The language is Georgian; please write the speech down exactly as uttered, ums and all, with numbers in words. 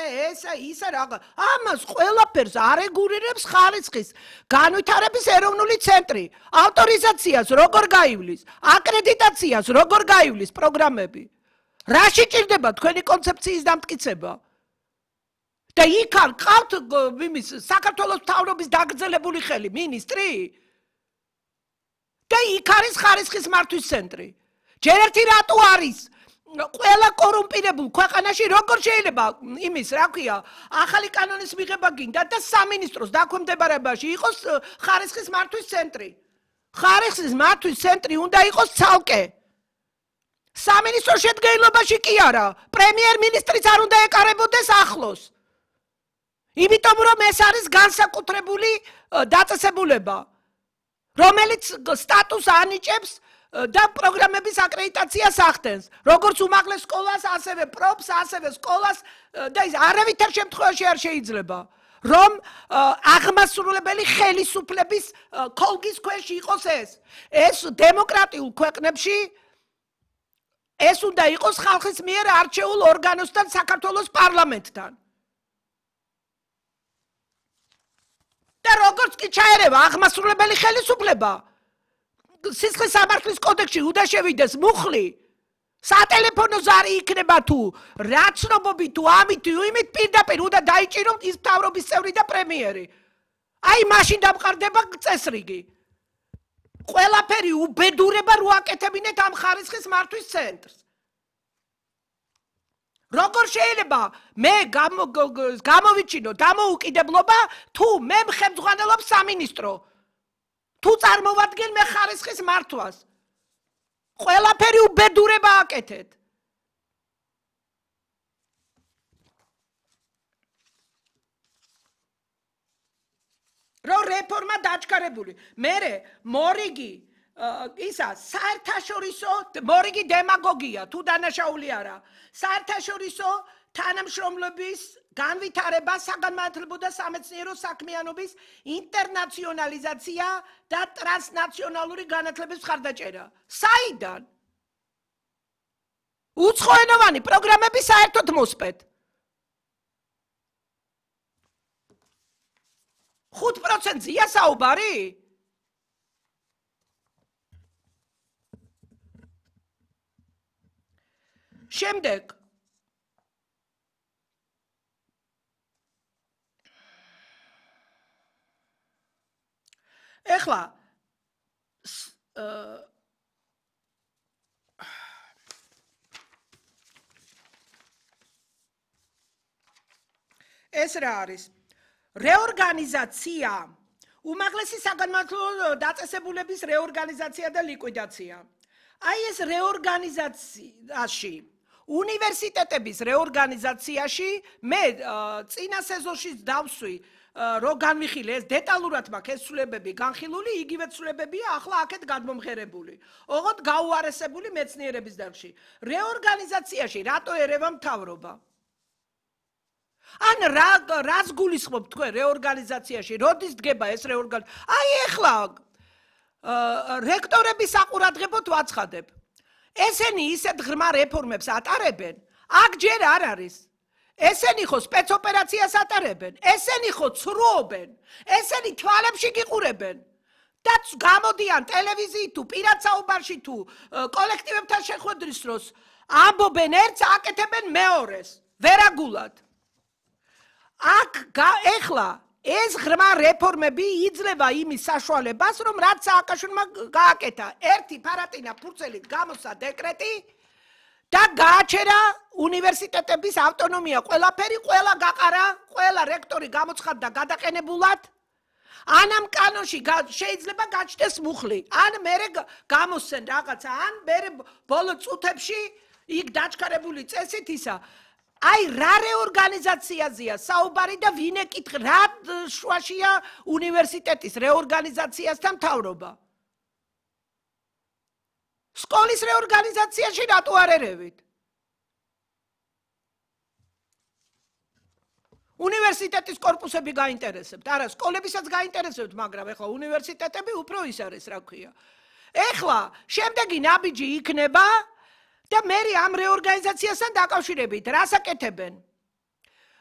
ესა, ისა რაღა. ამას ყველაფერს არეგულირებს ხარისხის განვითარების ეროვნული ცენტრი. ავტორიზაციას როგორ გაივლის, აკრედიტაციას როგორ გაივლის პროგრამები. რაში ჭირდება თქვენი კონცეფციის დამტკიცება? და იქ არ ყავთ იმის საქართველოს მთავრობის დაგრძელებული ხელი, მინისტრი? და იქ არის ხარისხის მართვის ცენტრი. ჯერ ერთი რატო არის ყველა კორუმპირებულ ქვეყანაში როგორ შეიძლება იმის, რა ქვია, ახალი კანონის მიღება გინდა და სამინისტროს დაქვემდებარებაში იყოს ხარისხის მართვის ცენტრი. ხარისხის მართვის ცენტრი უნდა იყოს ცალკე. სამინისტრო შედგენილობაში კი არა, პრემიერ-მინისტრიც არ უნდა ეკარებოდეს ახლოს. იმიტომ რომ ეს არის განსაკუთრებული დაწესებულება, რომელიც სტატუსს ანიჭებს და პროგრამების აკრედიტაციას ახდენს, როგორც უმაღლეს სკოლას, ასევე პროფს, ასევე სკოლას და ის არავითარ შემთხვევაში არ შეიძლება, რომ აღმასრულებელი ხელისუფლების ქოლგის ქვეშ იყოს ეს. ეს დემოკრატიულ ქვეყნებში ეს უნდა იყოს ხალხის მიერ არჩეულ ორგანოსთან, საქართველოს პარლამენტთან. და როგორც კი ჩაერევა აღმასრულებელი ხელისუფლება, სისხლის სამართლის კოდექსში უნდა შევიდეს მუხლი, სატელეფონო ზარი იქნება თუ რა ცნობობი თუ ამით თუ იმით პირდაპირ უნდა დაიჭიროთ ის მთავრობის წევრი და პრემიერი. აი მაშინ დამყარდება წესრიგი. ყველაფერი უბედურება რო აკეთებინეთ ამ ხარისხის მართვის ცენტრს. როგორ შეიძლება მე გამოვიჩინო დამოუკიდებლობა თუ მე მხემძღვანელობ სამინისტრო, თუ წარმოვადგენ მე ხარისხის მართვას. ყველაფერი უბედურება აკეთეთ. რო რეფორმა დაჩქარებული. მერე მორიგი ისა საერთაშორისო მორიგი დემაგოგია თუ დანაშაული არა. საერთაშორისო თანამშრომლობის განვითარება, საგანმანათლებლო და სამეცნიერო საქმიანობის ინტერნაციონალიზაცია და ტრანსნაციონალური განათლების მხარდაჭერა. საიდან? უცხოენოვანი პროგრამები საერთოდ მოსპეთ. ხუთ პროცენტზეა საუბარი? შემდეგ ეხლა ეს რა არის? რეორგანიზაცია, უმაღლესი საგანმანათლებლო დაწესებულების რეორგანიზაცია და ლიკვიდაცია. აი ეს რეორგანიზაციაში უნივერსიტეტების რეორგანიზაციაში მე წინა სეზონში დავსვი რო განვიხილე ეს დეტალურად მაქვს ეს ცვლილებები განხილული, იგივე ცვლილებებია ახლა აქეთ გადმომღერებული. ოღონდ გაუარესებული მეცნიერების დარგში. რეორგანიზაციაში რატო ერევა მთავრობა? ან რა რას გულისხმობთ თქვენ რეორგანიზაციაში? როდის დგება ეს რეორგანიზაცია? აი ეხლა რექტორების საყურადღებოდ ვაცხადებ. ესენი ისეთ ღრმა რეფორმებს ატარებენ, აქ ჯერ არ არის. ესენი ხო სპეცოპერაციას ატარებენ, ესენი ხო ცრუობენ, ესენი თვალებში გიყურებენ. და გამოდიან ტელევიზიით თუ პირად საუბარში თუ კოლექტივებთან შეხვედრის დროს ამბობენ ერთს, აკეთებენ მეორეს, ვერაგულად. აქ ეხლა ეს ღრმა რეფორმები იძლევა იმის საშუალებას, რომ რაც სააკაშვილმა გააკეთა, ერთი ფარატინა ფურცელით გამოსცა დეკრეტი და გააჩერა უნივერსიტეტების ავტონომია, ყველაფერი, ყველა გაყარა, ყველა რექტორი გამოცხადდა გადაყენებულად. ან ამ კანონში შეიძლება გაჩნდეს მუხლი, ან მერე გამოსცენ რაღაცა, ან მერე ბოლო წუთებში იქ დაჩქარებული წესით ისა. აი რა რეორგანიზაციაზეა საუბარი და ვინ ეკითხა რა შუაშია უნივერსიტეტის რეორგანიზაციასთან მთავრობა? სკოლის რეორგანიზაციაში რატო არ ერევით? უნივერსიტეტის კორპუსები გაინტერესებთ, არა სკოლებისაც გაინტერესებთ, მაგრამ ეხლა უნივერსიტეტები უფრო ის არის, რა ქვია. ეხლა შემდეგი ნაბიჯი იქნება და მე ამ რეორგანიზაციასთან დაკავშირებით რას აკეთებენ?